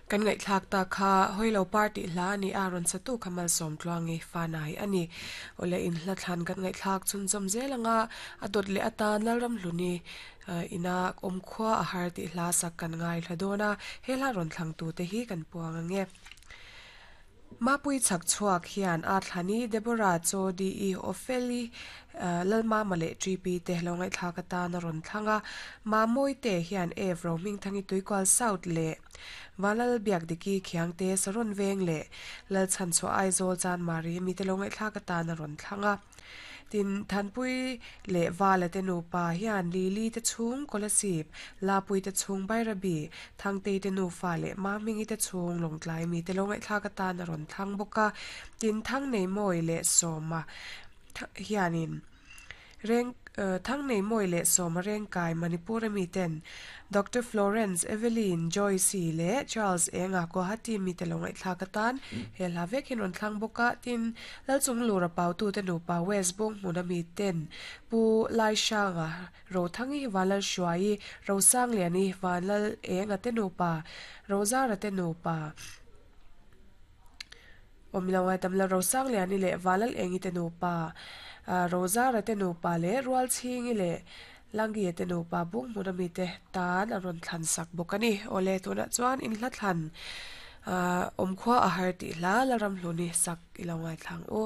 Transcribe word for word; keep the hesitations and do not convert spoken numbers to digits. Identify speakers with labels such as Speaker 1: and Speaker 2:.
Speaker 1: Kan ngaihthlak ta kha hoilo party hla ani a rawn satu khamal som tluangi fanai ani ole in hla thlan kan ngaihthlak chun chom zelanga a dot le atan lalram hluni ina omkhua a har ti hla sak kan ngai hladona hela ron thlang tu te hi kan puang ange mapui chak chuak hian a thlani Deborah Chodi i Opheli lalma male G P te lo ngai thlak atan a ron thlanga ma moi te hian evro ming thangi tuikwal south le walal biak diki khiang te saron veng le lal chan chu Aizawl chan mari mi te lo ngai thlak atan a ron thlanga tin thanpui le wala te nu pa hian lili te chung kolasip lapui te chung bairabi thangte te nu fa le ma mingi te chung longtlai mi te lo ngai thlak atan a ron thlang boka tin thang nei moi le soma hianin reng thang nei moi le soma reng kai Manipur mi ten Doctor Florence Evelyn Joyce le Charles Enga Guwahati mi te lo ngai thlak atan he la vek hin ron thlang boka tin lalchung lura pau tu te nu pa West Bong hmuna mi ten pu lai shanga ro thangi walal shuai ro sang liani walal enga te nu pa rozara te nu pa omilawai tamla ro sang liani le walal engi te nu pa rozara te nu pa le rual chingi le langi te nu pa bung hmuna mi te tan a ron thlan sak bokani ole tuna chuan in hla thlan omkhua a har ti hla laram hluni sak ilongai thlang u.